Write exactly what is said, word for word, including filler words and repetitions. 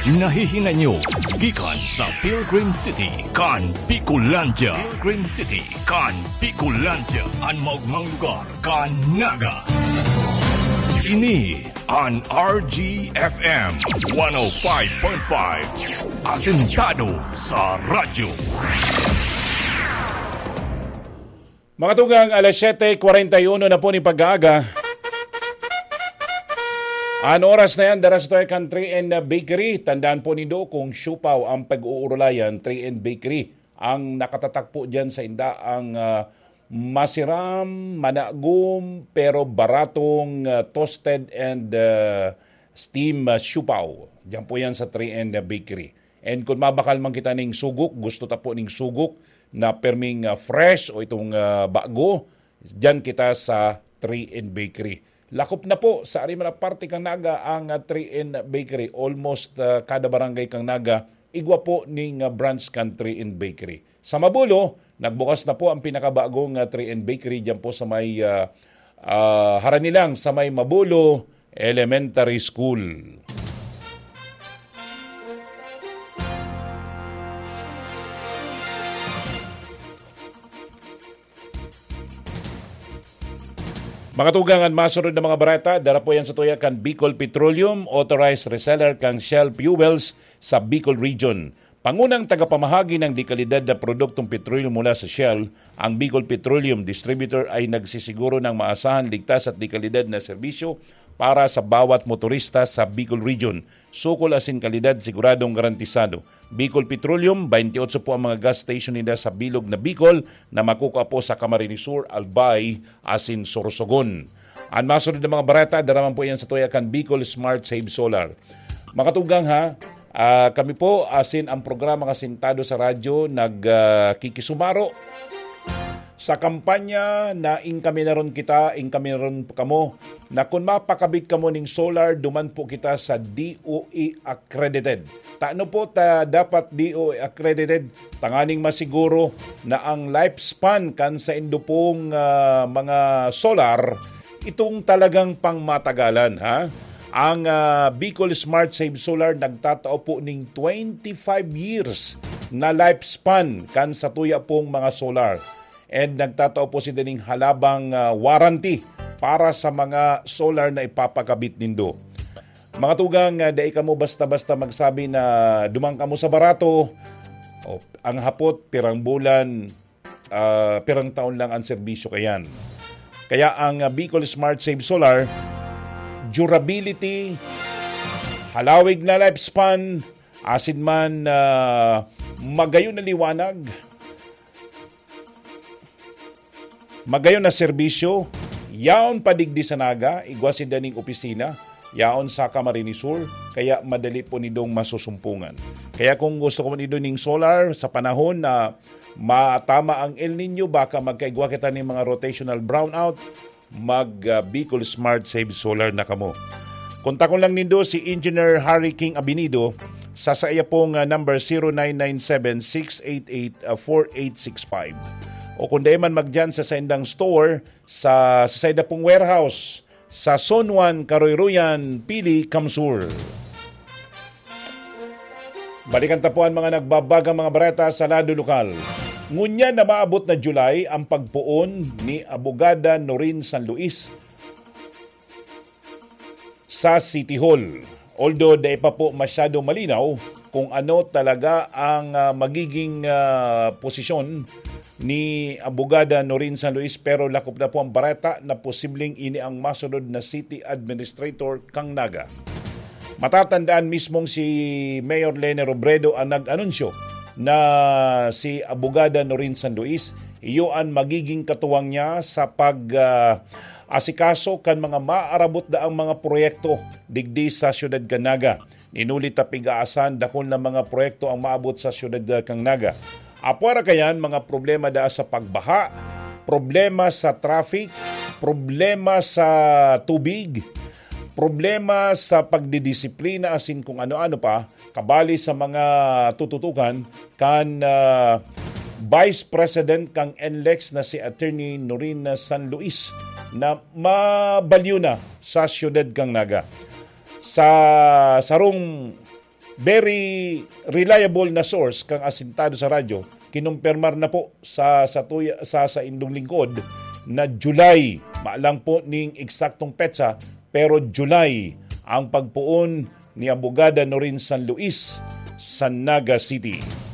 Nahihinay nyo gikan sa Pilgrim City kan Bicolandia. Pilgrim City kan Bicolandia, an maogmang lugar kan Naga. Ini an R G F M one oh five point five, asentado sa radyo. Mga tugang, alas siyete kwarenta y uno na po nin pag-aaga. An oras na yan, dara sa tuya kan three N Bakery. Tandaan po nindo, kung siopao ang pag-uurulayan, three N Bakery ang nakatatak po dyan sa inda ang, ah, masiram, managom, pero baratong, ah, toasted and, ah, steam, ah, siopao. Diyan po yan sa three N Bakery. And kung mabakal man kita ning sugok, gusto ta po ning sugok na perming, ah, fresh o itong, ah, bago, diyan kita sa three N Bakery. Lakop na po sa ari man na parte kan Naga ang, ah, three N Bakery. Almost, ah, kada barangay kan Naga, igwa po ning, ah, branch kan three N Bakery. Sa Mabulo, nagbukas na po ang pinakabagong, ah, three N Bakery diyan po sa may, ah, ah, harani lang sa may Mabulo Elementary School. Mga tugang, an masunod na mga bareta, dara po yan sa tuya kan Bicol Petroleum, authorized reseller kan Shell Fuels sa Bicol Region. Pangunang tagapamahagi ng dekalidad na produktong petrolyo mula sa Shell, ang Bicol Petroleum Distributor ay nagsisiguro ng maasahan, ligtas at dekalidad na serbisyo para sa bawat motorista sa Bicol Region. Sukol asin kalidad siguradong garantisado. Bicol Petroleum, twenty-eight po ang mga gas station ninda sa bilog na Bicol na makukua po sa Camarines Sur, Albay, asin Sorsogon. An masunod na mga bareta, dara man po yan sa tuya kan Bicol Smart Save Solar. Mga tugang ha, ah, kami po, asin ang programa Kasintado sa Radyo, nag, ah, kikisumaro sa kampanya na Inkaminaron Kita, Inkaminaron Kamo, na kun mapakabit kamo ning solar, duman po kita sa D O E accredited. Tano po ta dapat D O E accredited? Tanganing masiguro na ang lifespan kan saindo pong, ah, mga solar, itong talagang pangmatagalan, ha? Ang, ah, Bicol Smart Save Solar nagtatao po ning twenty-five years na lifespan kan satuya pong mga solar. And nagtatao po sinda ning halabang, ah, warranty para sa mga solar na ipapakabit nindo. Mga tugang, ah, dai kamo basta-basta magsabi na duman kamo sa barato. O, ang hapot, pirang bulan, ah, pirang taon lang ang serbisyo kayan. Kaya ang, ah, Bicol Smart Save Solar, durability, halawig na lifespan, asin man, ah, magayon na liwanag, magayon na serbisyo, yaon pa digdi sa Naga, igwa sinda ning opisina, yaon sa Camarines Sur, kaya madali po nindong masusumpungan. Kaya kung gusto ko nindo ning solar sa panahon na matama ang El Nino, baka magkaigwa kita ning mga rotational brownout, mag, ah, Bicol Smart Save Solar na kamo. Kontakon lang nindo si Engineer Harry King Abinido sa saiya pong, ah, number zero nine nine seven six eight eight four eight six five. O kung dai man magdiyan sa saindang store, sa, sa sainda pong warehouse, sa Zone one, Karoyroyan, Pili, Kamsur. Balikan ta po an mga nagbabagang mga bareta sa lado lokal. Ngunyan na maabot na July ang pagpoon ni Abogada Norin San Luis sa City Hall. Although dai pa po masyado malinaw kung ano talaga ang, ah, magiging, ah, posisyon ni Abogada Norin San Luis, pero lakop na po ang bareta na posibleng ini ang masunod na city administrator kan Naga. Matatandaan, mismong si Mayor Leni Robredo ang nag-anunsyo na si Abogada Norin San Luis, iyo an magiging katuwang niya sa pag, ah, asikaso kan mga maarabot daang mga proyekto digdi sa siyudad kan Naga. Ninuli ta pigaasan, dakul na mga proyekto ang maabot sa siyudad kan Naga. Apwera kayan, mga problema daa sa pagbaha, problema sa traffic, problema sa tubig, problema sa pagdidisiplina, asin kung ano-ano pa, kabali sa mga tututukan kan, ah, Vice President kan NLEX na si Attorney Norina San Luis na mabalyo na sa siyudad kan Naga. Sa sarong very reliable na source kang asintado sa radyo, kinumpirmar na po sa, sa, tuya, sa, sa indong lingkod na July. Malang po ning eksaktong petsa, pero July ang pagpoon ni Abogada Norin San Luis sa Naga City.